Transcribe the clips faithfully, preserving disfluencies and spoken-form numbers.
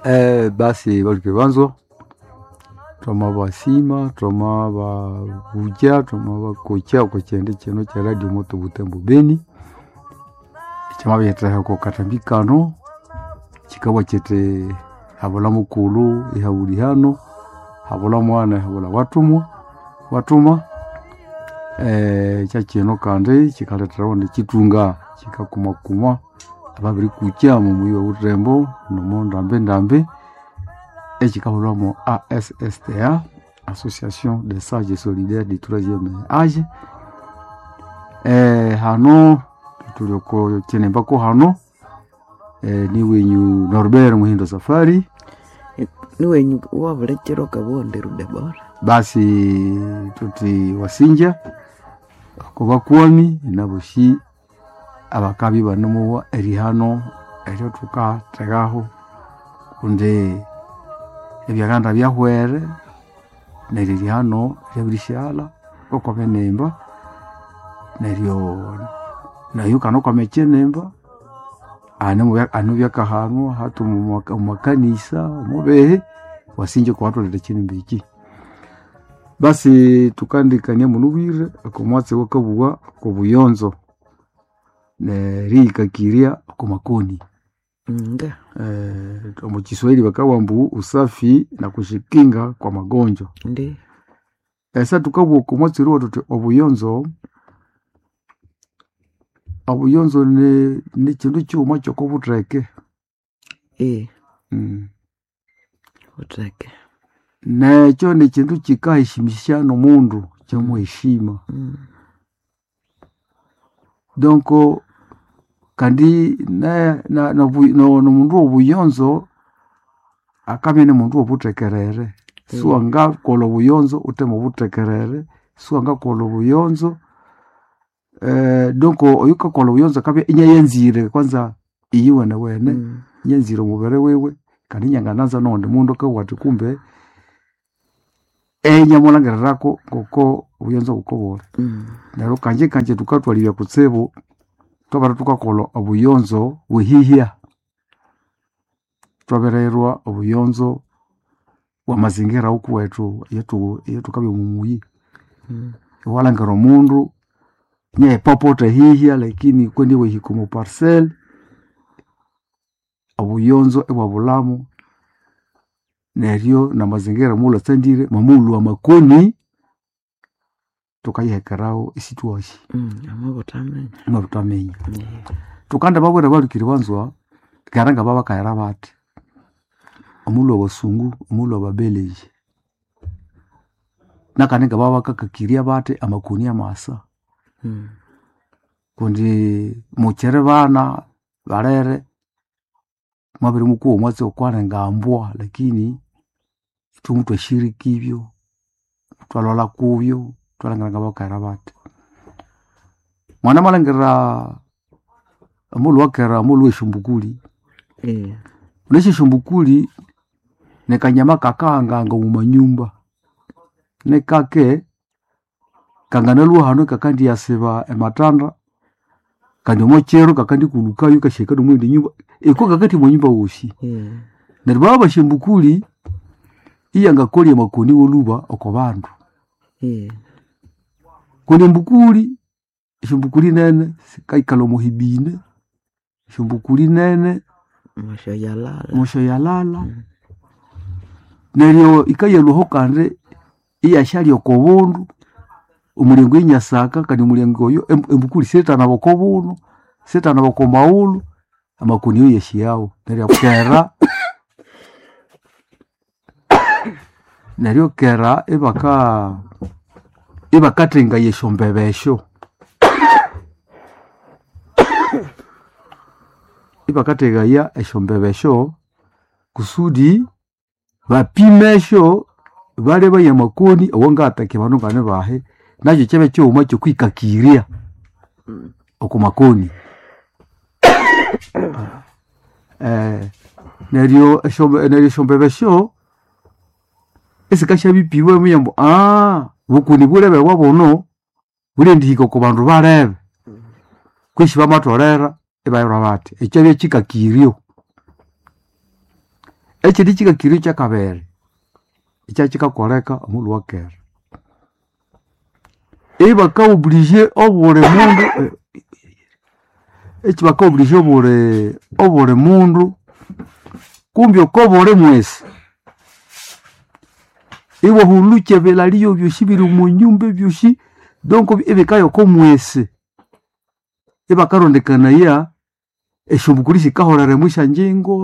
Eh, basi balike banzo twamabasima twamababuja twamabakocha oko kyende kino kya Radio Moto Butembo Beni kyamabiyethaha oko katambi kano kikabwa kiti habula mukulu ihabuli hano habula mwana habula watumwa watuma eh, kyakino kandi kikaletherawo nekitunga kikakumakuma ababirikukya mumuyi wa Butembo nomo ndambi ndambi ekikahulwamo A S S T A Association des Sages Solidaires du Troisième Âge. Eh, hano tuli oko kinembako hano eh, ni wenyu Norbert Muhindo Safari niwenyu wabulekera okabonde Debora basi tuti wasinja ako bakwami naboshi abakabi banomowa erihano eryo tukategaho kundi ebyaganda byahwere neryo erihano ryabirisyala okwabenemba neryo nayo kana okwamekyenemba anu byakahanwa hati omumakanisa omubehe wasinja okubatholera ekinemba eki. Basi tukandikania munubwire okomwatsi wakabuwa okobuyonzo neriyikakirya okomakoni nga eh, omu Kiswahili bakawa mbu usafi na kushikinga kwa magonjwa. ndi Esa tukabugha okomwatsi oruwa tuthi obuyonzo obuyonzo ni nikindu kighuma kyokobutheke e mm. butheke Nekyo nikindu kikaheshimisya nomundu kyamuheshima mm. donc kandi ne- na- nobu- no- nomundu wobuyonzo akabya nimundu wobuthekerere siwangakolha obuyonzo wuthe mobuthekerere siwangakolha obuyonzo eh, donc oyukakolha obuyonzo akabya inyayanzire kwanza iyiwenewene Mm. inyanzire omubiri wiwe kandi inyangananza nowundi mundu akabugha athi kumbe enyamulhangirirako ngoko obuyonzo ngokobuli Mm. neryo kanje kanje thukathwalibya kutsibu twabere thukakolha obuyonzo bwehihya thwabirirwa obuyonzo bwamazingira wukuwethu eyathu eyathukabya omumuyi Mm. iwalhangira omundu inyaghipapota ehihya lakini kwendi iwahika omo parcel obuyonzo ibwabulhamu neryo namazingira muwulhatsandire mwamulhwa amakoni thukayihekerawo isithwashi Mm. Amabuthaminya imwabuthaminya Eh, thukanda babwira balhukiri banzwa kera ngababakahera bathi omulhu abasungu omulhu ababeleji nakandi ngababakakakirya bathi amakoni amasa mm. kundi mukyiri bana balere mwabiri mukuwa omwatsi okwalinga mbwa lakini ithwe muthwashirika ibyo thwalholha kubyo thwalhangira ngabakahera bathi mwana malhangira omulhu wakera omulhu wesyombukuli Eh, unesyo esyombukuli nikanyama kakahanganga omumanyumba nikake kanganalwa hano kakandiyasiba ematanda kandi omokyero kakandikulukayo kashika nomwindi nyumba iko kakati mwanyumba wosi eh, neryo baba basyombukuli iyangakolya amakoni woluba oko bandu eh, kundi embukuli esyombukuli nene sikaikalha omuhibine esyombukuli nene moshoyalala moshoyalala Mm. neryo ikayalwaho kandi iyashalya oko bundu omulyango inyasaka kandi omulyango oyo em- embukuli sirithanaba oko bundu sirithanaba oko maghulhu amakoni oyo yashiyawo neryo kera neryo kera ibaka ibakathengaya esyombebe esyo ibakathegaya esyombebe esyo kusudi bapime esyo balebaya amakoni awangataki abandu ngane bahe nakyo kyabya kyighuma kyokwikakirya oko makoni eh, neryo esyo- neryo esyombebe esyo esikasyabipibwa iminya ambu aa bukoni bulebe bwa buno bulendihika oko bandu balebe kwesi bamatholera ibayirwa bathi ekyo kyabya kikakiryo. Ekindi kikakiryo kyakabiri ekyakikakoleka omulhu wakera ibaka oblige obuli mundu ekibaka oblige obuli obuli mundu kumbi oko buli mwesi iwahulukya ebilalio byosi biri omo nyumba ebyosi donc ibikaya oko mwesi ibakarondekanaya esyombukuli sikaholera omwa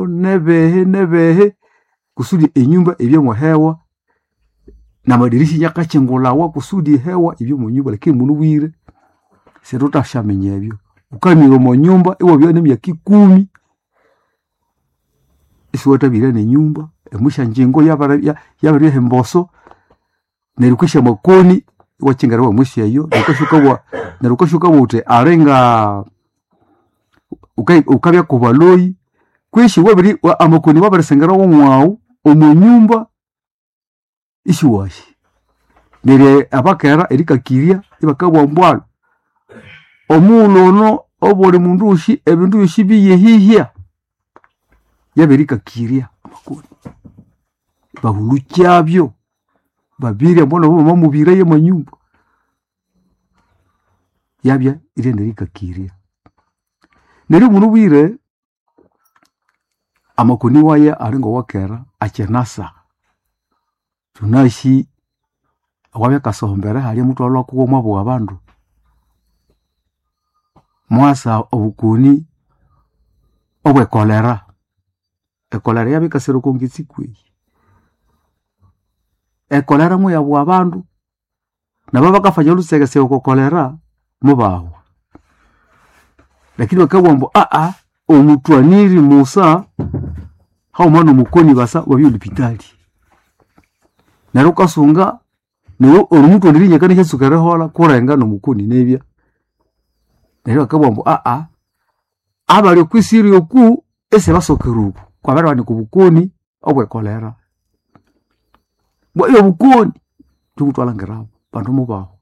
nebihi nebihi kusudi enyumba ibye mwehewa namadirisha inakakyingulhawa kusudi ehewa ibye omwa nyumba lakini munubwire sithuthasyaminya ebyo. Wukamira omo nyumba iwabya nemyaka ikumi isiwathabirya nenyumba omwisyanjingo yabiribya emboso neryo wukisya amakoni iwakyingirawa omwisi eyo neryo wukasya neryo wukasya wukabugha wuthi alinga wukabya kubaloyi kwisi wabiri amakoni wabirisingirawo mwawu omo nyumba isiwasi. Neryo abakera erikakirya ibakabugha ambu alhu omughulhu ono obuli mundu wosi ebindu byosi biyehihya yabirikakirya amakoni. Bahulukyabyo babirya mbwanu obo bamamubiraya omwa nyumba yabya iryanerikakirya. Neryo munubwire amakoni waya ali ngowakera akyinasa. Thunasi awabya akasohombere halya muthwalhwa kuwo mwabugha abandu mwasa obukoni obwe cholera. Echolera yabya yikasira oko ngitsi kwehi. Echolera muyabugha abandu nababakafanya olhutsegetsege oko cholera mubahwa. Lakini bakabugha ambu aa omuthwaniri musa haghuma nomukoni basa wabya olhupitali. Neryo wukasunga neryo omuthwaniri inakanasatsuka eriholha kulenga nomukoni nibya. Neryo bakabugha ambu aa abali okwisiri oku isibasokera oku kwabiribanika obukoni obwe cholera. Bwa obukoni ithwe thwalhangirabu abandu mubahwa.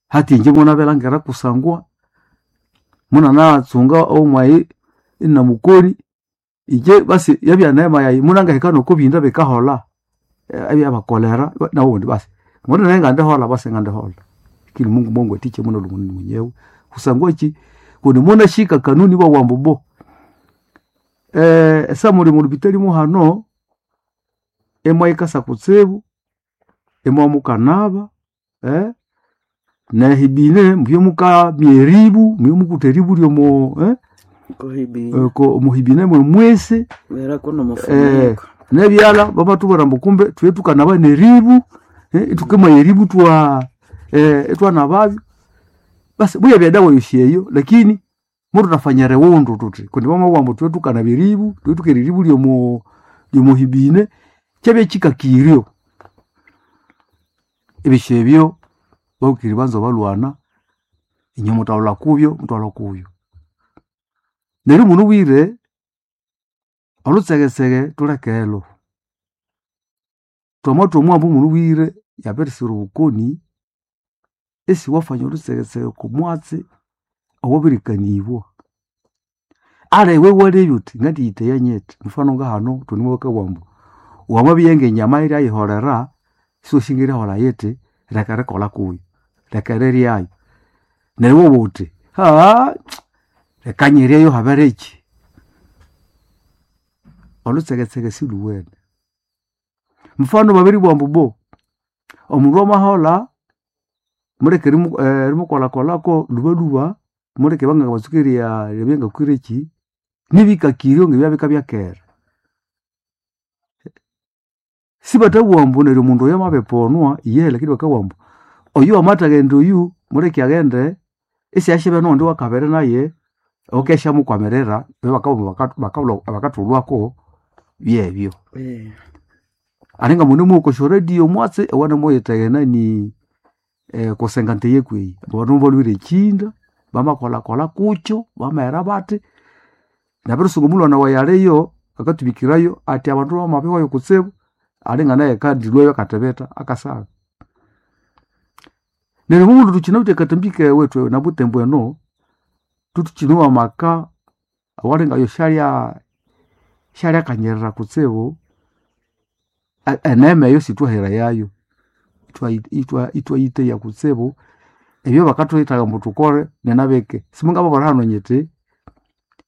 Hathya inje munabirilhangira kusangwa munanatsunga omwayi inamukoni inje basi yabya neema yayi munangahika nokobinda bikaholha ebyaba cholera nabundi basi ngono ngandiholha basi ngandiholha. Lakini Mungu mwangwathikya munalhwa mwenyewe kusangwa kyi kundi munashika kanuni ibabugha ambu bo esamuli omolhupitali muhano imwayikasa kutsibu imwamukanaba nehibine mubye mukamya eribu mubye mukutha eribu lyomo omuhibine mwemwisi nebyalha bamathubwira ambu kumbe thubye thukanaba neribu ithukimaya eribu ithwa ithwanababyo. Basi muyabya edawa yosi eyo lakini muthuthafanya eriwundu thuthi kundi bamabugha ambu thubye thukanaba eribu thubye thukera eribu lyomo lyomohibine kyabya kyikakiryo. Ebyosi ebyo babukire banza balhwana inywe muthalhwa kubyo muthalhwa kubyo. Neryo munubwire olhutsegetsege thulekelo. Thwamathwa omwambu munubwire yabirisira obukoni isiwafanya olhutsegetsege oko mwatsi owabirikanibwa. Aliwe iwalebya wuthi ngandiyithaya nyithi mufano ngahano thune bakabugha ambu wamabya ngenyama yiryayiholera isiwasi ngeriholha yithi leka erikolha kuyo leka eriryayo. Neryo iwabugha wuthi leka nyiryeyo habiriki. Olhutsegetsege silhuwene. Mufano babiribugha ambu bo omundu amaholha muleke erimukolhakolhako lhubalhuba muleke bangabatsuka eribya ngakwireki nibikakiryo ngebya bikabya kera. Sibathabugha ambu neryo omundu oyo amabiriponwa iyehe lakini bakabugha ambu oyu wamathaghenda oyu muleke aghende isiasyabya noghundi wakabiri naye owakesyamukwamira bakathulhwako byebyo. Alinga munemuwa okwa syoradio omwatsi owanemuwithegha enani kusenga nte kweyi abandu mubalhwire ekyinda bamakolhakolha kukyo bamaghera bathi nabirisunga omulhwana wayi aliyo akathubikirayo athi abandu bamabihwayo kutsibu alinga naye akandilhwayo akathibitha akasagha. Neryo omundu thukyinawithe akatambi kewethu nabutembo eno thuthukinowa amaka awalinga oyo syalya Syaliakanyirira kutsibu enema eyo sithwahera yayo. Ithwayiteya kutsibu ebyo bakathuhithaga ambu thukole ninabike. Simungababwira hano nyithi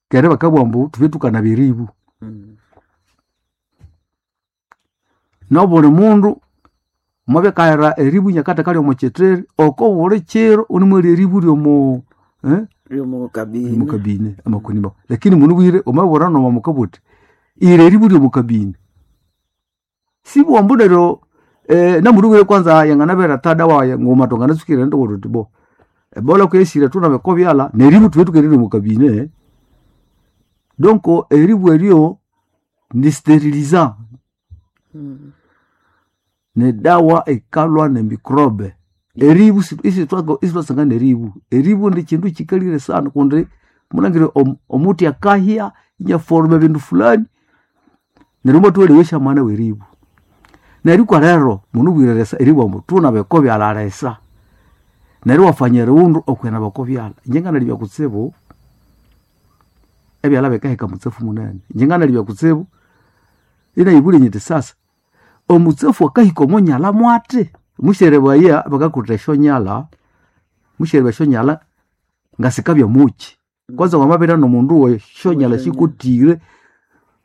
kera bakabugha ambu thubye thukanaba eribu. Nobuli mundu mwabya akahera eribu inakatheka ryomo kyithiri oko buli kiro ighunimwalya eribu ryomo kabine amakoni mawe. Lakini munabwire wamabibwira nomama wukabugha wuthi ira eribu ryomo kabine. Sibugha ambu neryo namunabwire kwanza yanganabere tada wayi nguma thwanganatsuka erighenda thuthi bo ebola kuyesire thunabe okobyalha neribu thubye thukaghenda ryomo kabine. Donc eribu eryo ni steriliza nidawa eyikalhwa nemicrobe. Eribu isithwasanga neribu. Eribu nikyindu kyikalire sana kundi munangire omuthi akahya inyaforma ebindu fulani neryo omwathuwalebya mwana weribu. Neryo ikwa lero munabwire erisa eribugha ambu thunabe okobyalha lisa neryo iwafanya erighundu okwinaba okobyalha. Inje nganalibya kutsibu ebyalha bikaheka mutsafu munene. Inje nganalibya kutsibu inayibulya nyithi sasa omutsafu akahika omonyalha mwathi? Musyerebaya bakakutha esyonyalha, musyereba esyonyalha ngasikabya mukyi. Kwanza wamabirya nomundu wesyonyalha sikothire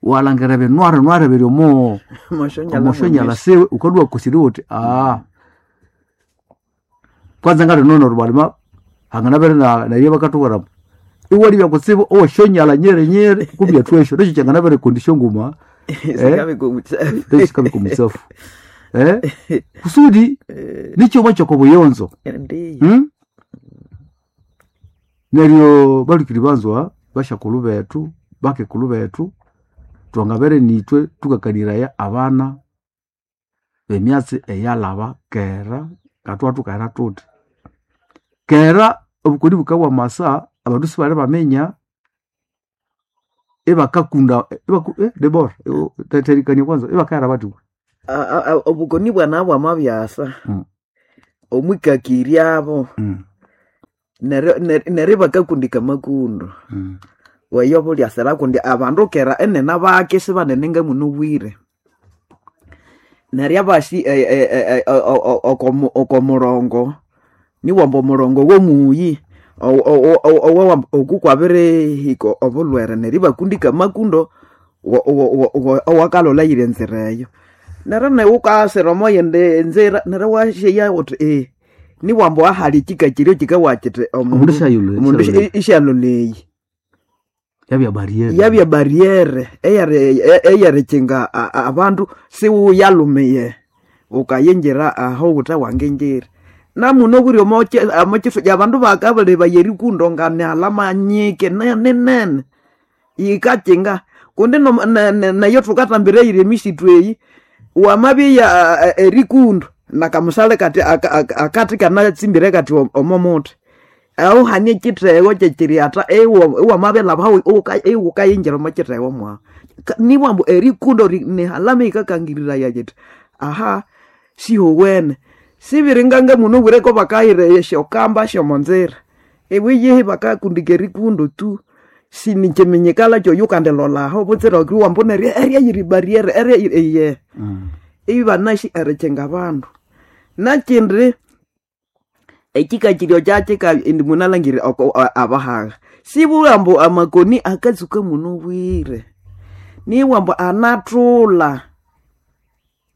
walhangira ebinwari nwari ebiri omo omosyonyalha siwe wukalhwa iwakosirya wuthi kwanza ngalino neryo balima hanganabere neryo bakatubwira ambu iwalibya kutsibu owesyonyalha nyiri nyiri kumbi athwesyo nekyo kyanganabere econdition nguma sikabika omutsafu kusudi nikyuma kyokobuyonzo. Neryo balhukiri banzwa basyakulhu bethu bakekulhu bethu thwangabere nithwe thukakaniraya abana bemyatsi eyalhaba kera ngathwabya thukahera thuthi. Kera obukoni bukabya bwamasa abandu sibali baminya ibakakunda Debora therikania kwanza ibakahera bathi Obukoni bwanabya bwamabyasa omwikakiryabo neryo ibakakundika amakundu weyo bulyasira kundi abandu kera enene bake sibanene ngamunabwire. Neryo abasi okomurongo niwamba omurongo womuyi oku kwabirihika obulhwere neryo ibakundika amakundo owakalholha eyiri enzira eyo. Neryo nawu wukasira omoyindi nzira neryo iwasyeya wuthi niwamba ahali ekyikakiryo kyikabugha kyithi Omundu omundu isyalholha eyi. Yabya barriere. Yabya barriere eyerikyinga abandu siwuyalumiye wukayingira aho wuthe wangingira. Namunabwire omokyithuki abandu bakabalebaya erikundo nganihalha manyike ninene yikakyinga kundi neyo thukathambira eyiri emisitu eyi wamabyeya erikundo nakamusale kathi akathi kanatsimbire kathi omomuthi ahu hane ekyithego kyekyiriatha iwamabilhabahu iwukayingira omokyithego mwahu. Nibughambu erikundo nihalama eyikakangiriraya yithi aha sihowene. Sibiringanga munabwire kobakahira esyokamba syomonzira iwiyihi bakakundika erikundo tu sinikyiminyikala kyoyukandilolha aho butsira iwambu neryo erya yiri barriere erya eyehe. Ibanasi erikyinga abandu. Nakyindi ekyikakiryo kyakyika indi munalhangira abahaga sibugha ambu amakoni akatsuka munabwire nibugha ambu anathulha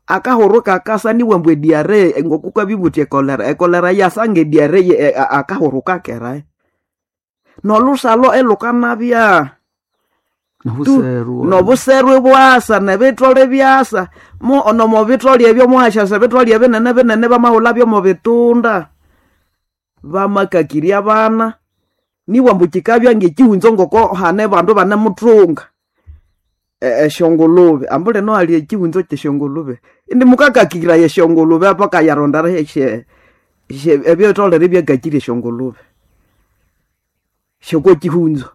akahuru kakasa nibugha ambu ediare ngokukwabya ibuthi ekolera ekolera yasa ngediare akahuru kakerayo. Nolhusalho ilhukanabya nobuseru ibwasa nebitholi ibyasa nomobitholi ebyo muhasyasa ebitholi ebinene binene bamahulhabyo mobitunda. Bamakakirya abana nibugha ambu kyikabya ngekyihunzo ngoko hane bandu banemuthunga esyongulube ambu lino hali ekyihunzo kyesyongulube indi mukakakiraya esyongulube paka yarondera ebyitholere ibyakakirya esyongulube syokokyihunzo.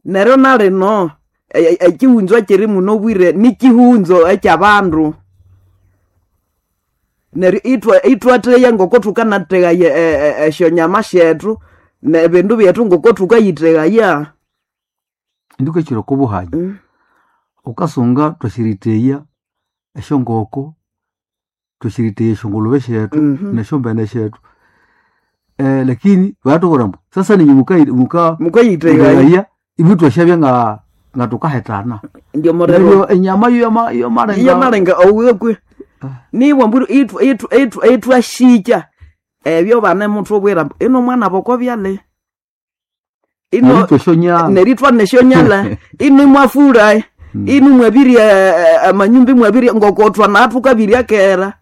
Neryo nalino ekyihunzo ekyiri munabwire nikyihunzo ekyabandu. Neryo ithwatheya ngoko thukanathegaya esyonyama syethu nebindu byethu ngoko thukayithegaya. Indikwekyira okobuhanyi Ukasunga twashiriteya eshongoko twashiriteya eshongulube shetu Mhm. neshombene shetu eh, lakini vatokora mbu sasa ninyi muka muka mukayiteya mukaia ivi twashavya nga nga tukahetana ndio morero neryo enyama yo yama iyo yomalenga malenga owekwe niwa mburu ithu ithu ithu itwashikya ebyo bane muthu obwira mbu, ino mwana boko byale ino tweshonya neritwa neshonyala ino mwafura ino mwabirya amanyumba mwabirya ngokotwa nathu kabirya kera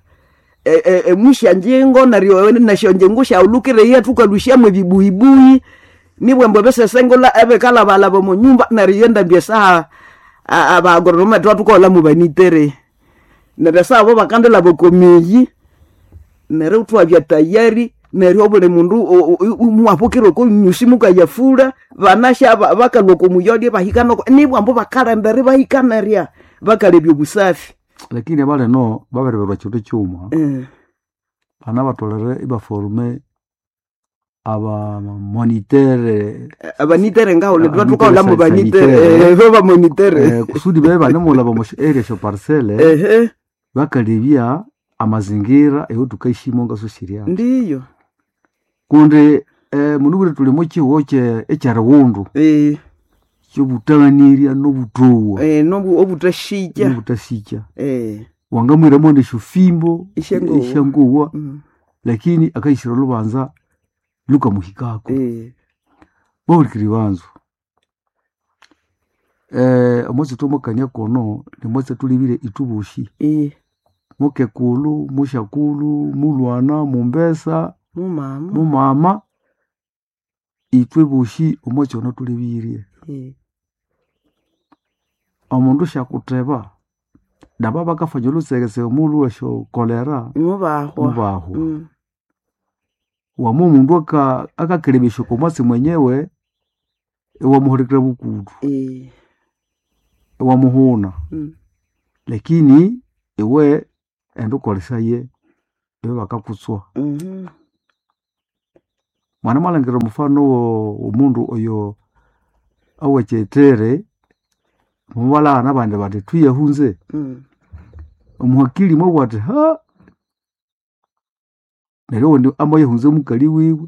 emusha njengo neryo nesyo njengo syaulukire yetu kalushamwe bibuibui nibwembo besesengola ebekalabalaba munyumba neryo yendambya esaha abaagronome twatukola mubanitere neryo esaha bo bakandilaba okomiyi neryo twabya tayari neryo obuli mundu mwabukira oko nyusi mukayafura banasha ba- bakalwa oko muyolye bahika noko nibwambo bakalendere bahikanerya bakalebya obusafi lakini abaleno babereberwa kindu kyuma Eh, bana batolere ibaforume aba monitere abanitere ngaho Ah, twatukaula abanitere mubanitere sanitaire. eh, bo bamonitere eh, kusudi bebe banemulaba mu area sho parcele ehe bakalebya amazingira eyo tukaishimo ngaso shiria ndiyo kundi eh, munubwire tuli mu kihugo kye ekyerighundu Eh, kyobutaghanirya nobutowa eh, nobu obutashikya nobutasikya Eh, wangamwiramo neshofimbo Isyangowa. esyangowa mm, lakini akaishira olubanza lukamuhikako eh, bahulikiri banzu eh, omwatsi twamwakania kono nimwatsi tulibire itubushi eh, mukekulu mushakulu mulwana mumbesa mumama mumama itwe bushi omwatsi ono tulibirie Eh, omundu syakutheba naba bakafanya olutsekese omulhu esyo kolera mubahwa mubahwa Mm, wama omundu aka- akakelebesya oko mwatsi mwenyewe iwamuhulikira bukudu eh, iwamuhuna mm, lakini iwe enda ukolesaye iwe bakakutswa mhm, mwana mwalangira omufano wo omundu oyo awekyetere mubalana abandi bati tuyahunze mm, omuhakili mwabwa ati ha neryo owundi amayahunza omukali wiwe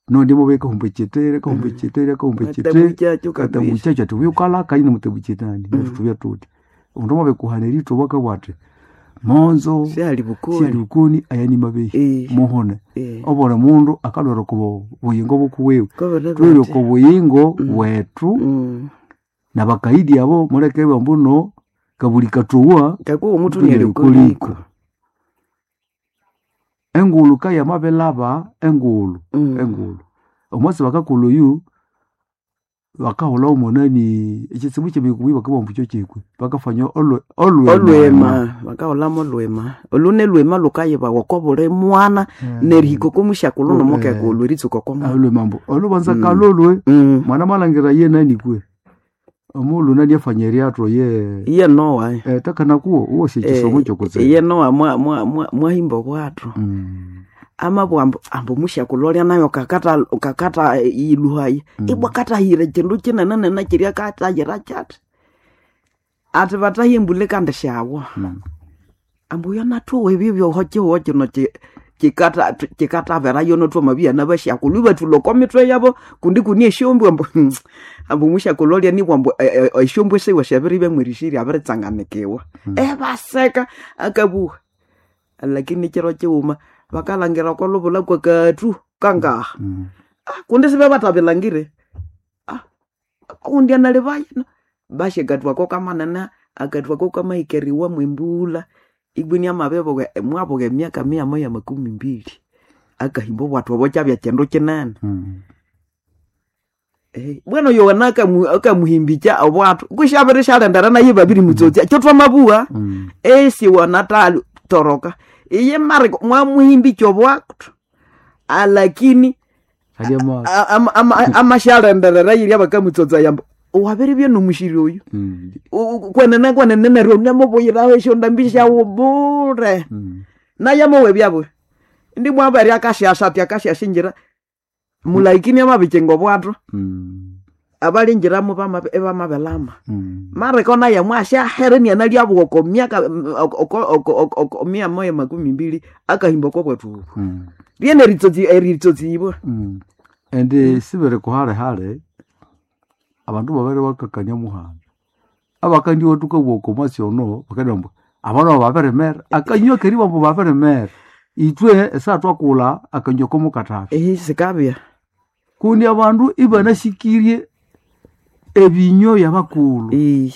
nondi amabya kahumba ekyetere kahumba Mm. ekyetere kahumba ekyetere Katabukyakyo kabisa katabukyakyo ati ubyukalaka yine mutabukye-nani Mm. neryo tubya tuti omundu amabikuhana eritho bakabugha ati monzo syali bukoni syali bukoni aya ni mabehi Eh, muhone eh, obuli mundu akalwera oko buyingo bukuwiwe kobere tulwere bati. oko buyingo Mm. bwetu Mm. nabakaidi abo muleke bambuno kabuli katowa kakuwa omutu Mutu nerikoliko nerikoliko. Engulu kayamabelaba engulu Mm. engulu omwatsi bakakolha oyu bakahulha omunani ekitsibu kyemikubi bakabugha ambu kyokikwe bakafanya olwe- olwema olwema bakahulhamu olwema olu nelwema lukayibawa oko buli mwana nerihika oko musyakulhu nomukekulhu eritsuka oko mwana olwema ambu olubanza Mm. kalolwe Mm. mwana malangira ye nani kwe omulhu nani afanya eryatho ye iye nowa eh, takanakuwo uwoshe ekisomo kyokutsibu iye nowa mwa- mwa- mwa- mwahimba obwatho Mm. amabwa ambu ambu musyakulhu olya nayo kakata kakata iluhayi Mm. ibwa katahira kindu kinene nene kirya katahira kyati ati batahia embule kandi syawa Mm. ambu yonathuwa ebyo byoho kihuho kino ki- kikata kikatavera yono twamabia nabasyakulhu ibathulha oko mitwe yabo kundi kuni esyombwa ambu ambu musyakulhu olya nibwa ambu e- e- esyombwa esiwe syabiribya mwerisiria abiritsanganikiwa Mm. ebaseka akabuha lakini kiro kighuma bakalhangira oko lubula kwakathu kangaha Mm. Ah, kundi sibe batabilangire Ah, kundi analibaya bashikathu ako kamanene akathu ako kamahikeriwa mwembula ibwini amabibuka mwabuka emyaka mia moya makumi mbili akahimba obwathu obo kyabya kindu kinene Mm. Eh, bwenu yohana akamu- akamuhimbikya obwathu kushabiri shalendera naye babiri mutsotsya kyo twamabuha Mm. esi wanatali toroka iye mariko mwamuhimbikya obwathu alakini Hali ama- a- ama- ama- amashalenderera yirya bakamutsotsa yamba wabiri byenomushiri oyu Mm. U- u- kwenene kwenene neryo namubuyiraho esyondambi syawu bure Mm. nayamowe byabwe ndi mwabere akashasha ati akashashinjira mulaikini amabikinga obwathu Mm. Abalingiramo bama- ebamabelama. Mm. Mareko naye mwashahere nianalya bwoko myaka oko- oko- oko- oko- mia moya makumi mbili akahimba oko bwetu ubu. Mm. Lyene eritsotsi eritsotsi-ibwa. Mm. Ende sibere kuhale hale abandu babere bakakania muhanda abakandi watuka bwoko mwasi ono bakadamba abana baberemera akanywa keri bambo baberemera itwe esa twakula akanywa komukatafi Ehi sikabya. kundi abandu ibanashikirie ebinyo byabakulu Ii.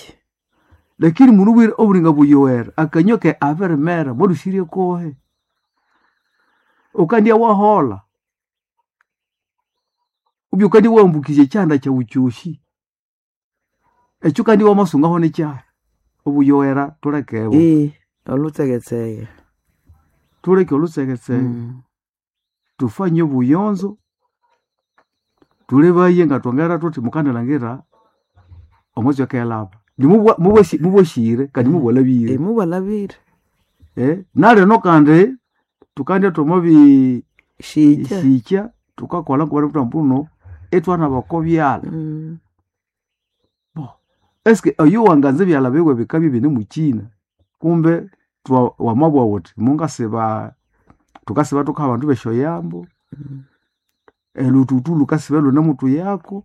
lakini munu bwire oburinga buyowera akanywa ke aberemera mwalushirie kohe ukandya wahola ubyo kandi wambukije chanda cha uchushi ekyo kandi wamasungaho nekyaha obuyowera tulekebo Ii. Olutseketseke. tuleke olusekeseke Mm. tufanye obuyonzo tulebaye nga twongera tuthi mukandilangira omwezi wakelaba mubwashire kandi mubwalabire Eh, mubwalabire. eh, nalino kandi tukandya twamubi Shija. shikya tukakola nkubali kuti mbuno etwana bakobyala Mm. bo eske oyo wanganza ebyala biwe bikabya bine mukina kumbe twa- wamabwa wuthi mungasiba tukasiba tukaha abandu besyoyambo Mm. elututu lukasiba lune mutu yako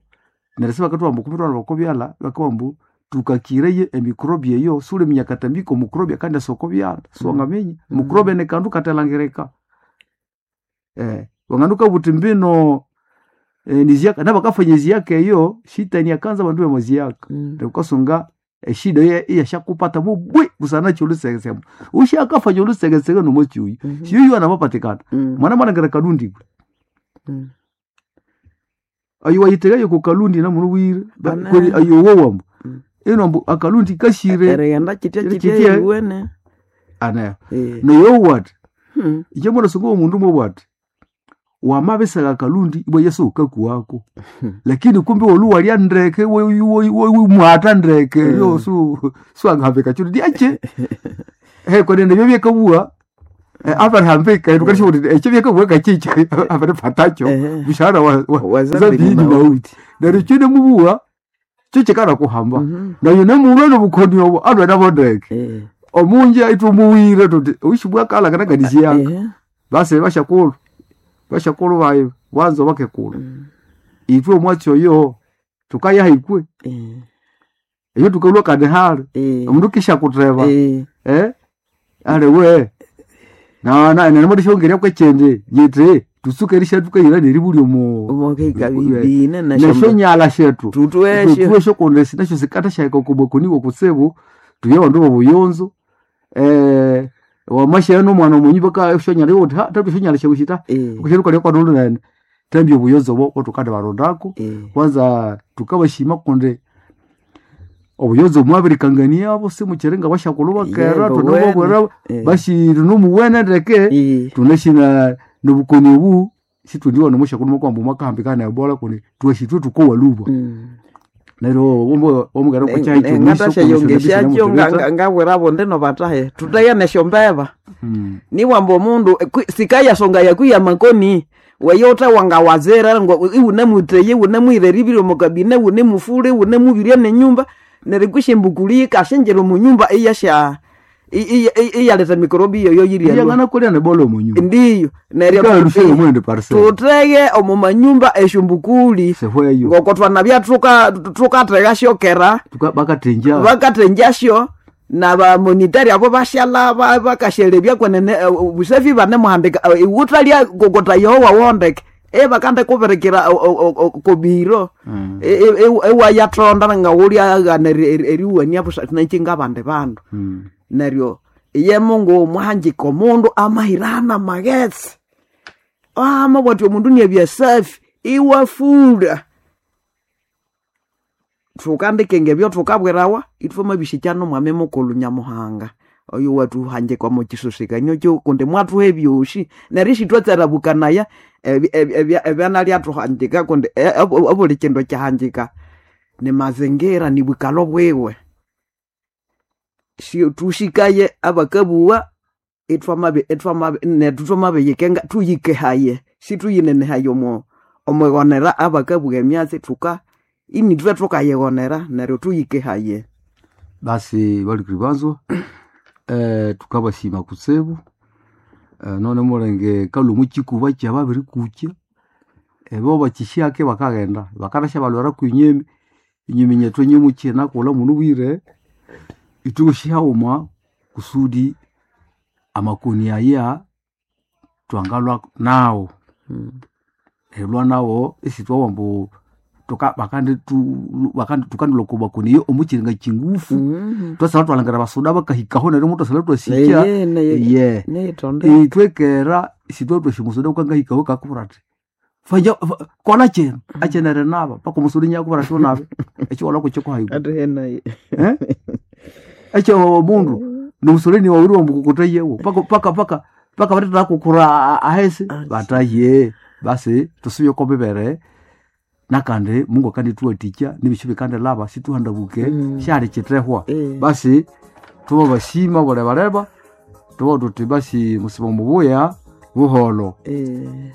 neryo sibakathuwa mbu kumbe twana bakobyala bakabugha tukakireye emikrobi eyo suliminya katambiko mukrobi akandi asokobyala siwangaminya Mm. mukrobi ni kandu katelangirika eh, wanganduka buti mbino eh, niziaka nabakafanya ziaka eyo shitani akanza bandu bemaziaka Mm. ukasunga eshida ye iyashakupata mubwi busana cholusegesema ushakafanya olusegesege nomochuyu Mhm. siyuyu anamapatikana Mm. mwana mwanangera kalundi gwe Mm. ayo wayitegayo ku kalundi namunu wire Bana. kweli ayo wowambo Mm. ino mbu akalundi kashire Erighenda kitya Kitya kitya kitya. iwene. ana Eh. noyo what Hmm. ije mwana sunga omundu mwe bwati wamabisaka akalundi ibwa yesu ukakuwako lakini kumbe wolu walya ndeke mwata ndeke yo su swangahambika chuti diache he kwenene byo byekabua abarihambika enukanisha kuti ekyo byekabua kachicha abaripatacho Ehe. mshahara wa, wa, Wa zambi zambi ni ni mauti neryo kyo nemubuwa kyo kikana kuhamba Mhm. nayo nemulwa nobukoni obwo alwe nabo ndeke Eh. omunja itumuwire tuti uishi bwakala kana Ehe. base bashakulu bashakulu bayi wanzo bakekulu Mm. itwe omwatsi oyo tukayaha ikwe Eh. eyo tukalwa kandi hali Eh. omundu kishakutreba Eh. eh ale we na na nenemodishongerya kwechendi yiti tusuke erisha tukayira neribuli omo Omukeka bibine neshonyala shetu tutwesho. tutwesho kundi sinasho sikata shaika kubwakuniwa kutsibu tuye bandu bobuyonzo eh wamashaya nomwana omunyi baka shonyala yokuti ha tatu shonyala shekushita Eh. kusheruka kwanulu nene tambya obuyonzo bwo otukandi barondako Eh. kwanza tukabashima kundi obuyonzo mwabirikanganiabo simukiringa bashakulu bakera Yebo, tunababwera Eh. bashiri nomuwene ndeke Eh. tunashina nobukoni obu situndiwa nomushakulu makwamba mwakahambikana ebola kundi twashitwe tukowaluba Mm. neryo womugera ngatasha-yongesyakyo ngabwirabo ndino batahe tutaya nesyombeba niwamba omundu kwi- sikayasonga yakwiya makoni weyotha wangawazira ngo iwunemuteye iwunemwireribire omukabine iwunemufule iwunemubirye nenyumba neryo kwishimbukuli ikashenjera omunyumba iyasha i- i- i- iyaleta mikorobi yoyo yirya yanganakolya nebola omunyumba ndiyo neryo ikalushire mwende parcel tutege omu manyumba esyombukuli sehweyo ngoko twanabya tuka- tukatheka syokera Tuka- bakatenja vakatenjasyo na vamonitari avo vashala va- vakashelevya kwenene eh, vusafi vanemuhandika eh, iwutalya kokota yowa wondeke evakande kuvirikira kobiro Mm. ewayathonda ngawulyaghana eriwania nachinga vandi vandu Mm. neryo iye mungu muhanjika omundu amahirana maghetse amabwati omundu niebyasafi iwafura thukandikenge ebyo thukabwirawa ithwamabishikya nomwami mukulhu nyamuhanga oyo watuhanjikwa mukisusikanyo kyo kundi mwathuha ebyosi neryo isithwatserabukanaya ebi- ebi- ebya- ebyanalyathughanjika kundi e- obu- obuli kindu kyahanjika ni mazingira ni bwikalo bwiwe Si- thushikaye abakabuwa ithwamabi ithwamabi nethu thwamabiyikenga thuyikehaye situyinenehaye omo omwighonera abakabuwa emyatsi thuka Inithwe thukayighonera neryo tuyikehaye. Basi balikiri banzwa eh, tukabasima kutsibu eh, none mulenge kalwa mukikuba kyababirikukya ebo bakishake bakaghenda bakanasya balwera kwinyemi inyemi nyethu nyimukina kula munu bwire itukushauma kusudi amakoni aya twangalwa nawo elwa nawo isitwawa mbu tuka bakandi tu bakandi tukandilwa ku makoni yo omukiringa kingufu Mhm. twasala twalangira basuda bakahikaho neryo mutwasala twasikya Eye, neye- ye neyitonde itwekera isitwa twashimusuda ukangahikaho kakubura ati fanya fa- kola chino achenere naba paka omusudi nyakubura ati unabe ekiwala kuchikuhaiku atihenaye eh ekyo mundu nomusoleni wawiri wambukukuta yewo paka paka paka paka batata kukura ahesi Asi. bataye basi tusubye ko bibere nakandi mungu akandituwatikya nibisho bikandilaba situhandabuke Mm. syali kitehwa Eh. basi tuba basima bulebaleba tuba tuti basi musiba mubuya buholo Eh.